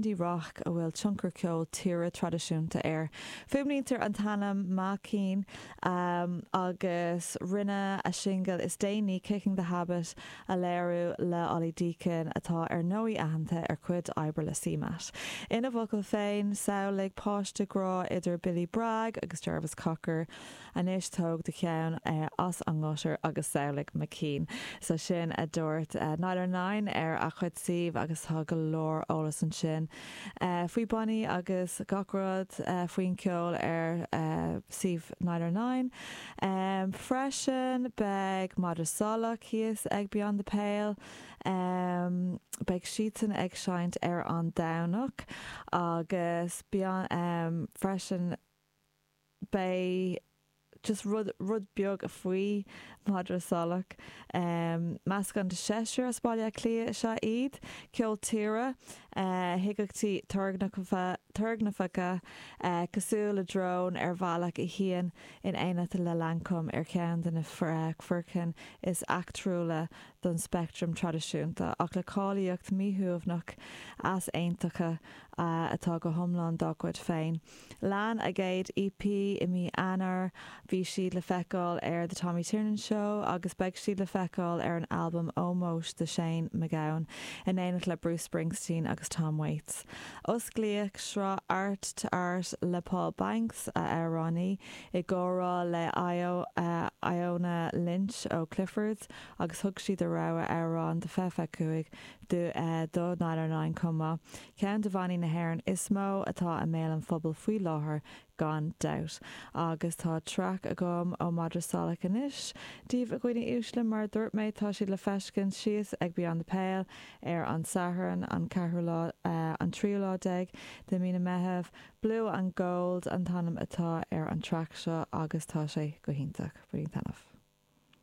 indie rock a bhfuil tionchar ceol tíre traidisiúnta air. Fuaimnítear an t-ainm Maicín agus rinneadh a singil is déanaí, Kicking the Habit, a léiriú le Ollie Deacon, atá ar ndóigh aitheanta ar chuid oibre le CMAT. Ina bhfocail féin, samhlaigh páiste grá idir Billy Bragg agus Jarvis Cocker. Anois tóg do cheann as an ngutter agus samhlaigh Maicín. So sin a dúirt Nialler9 ar a chuid suímh agus tá go leor eolas ansin faoi Bonnie agus gach rud faoin ceol ar suíomh Nialler9. Freisin beidh Madra Salach thíos ag Beyond the Pale. Beidh siadsan ag seinnt ar an Domhnach agus freisin beidh just rud, rud beag faoi Madra Salach. Meascán de sheisear as Baile Átha Cliath is ea iad. Ceol tíre, uigeachtaí turgnamhacha, cosúil le drón ar bhealach a shuíonn in éineacht le Lancôme ar cheann de na foircinn is eachtrúla den speictream traidisiúnta, ach le cáilíocht mhíshuaimhneach easaontach atá go hiomlán dá gcuid féin. Lean a gcéad EP i mí Eanáir, bhí siad le feiceáil ar The Tommy Tiernan Show agus beidh siad le feiceáil ar an albam ómóis do Shane MacGowan in éineacht le Bruce Springsteen agus Tom Waits. Osclaíodh sraith Art to Art le Paul Banks, a amhránaí, i gcomhrá le Iona Lynch ó Cliffords agus thug siad a rogha amhrán de 25 do Nialler9 chomh maith. Ceann de bhannaí na hÉireann is mó atá i mbéal an phobail faoi láthair gan dabht. Agus tá traic agam ó Madra Salach anois daoibh a dhaoine uaisle, mar a dúirt mé tá siad le feiscint síos ag Beyond the Pale ar an Satharn an ceathrú lá, an tríú lá déag de mí na Meitheamh. Blue and Gold an t-ainm atá ar an traic seo agus tá sé go hiontach. Bainígí taitneamh.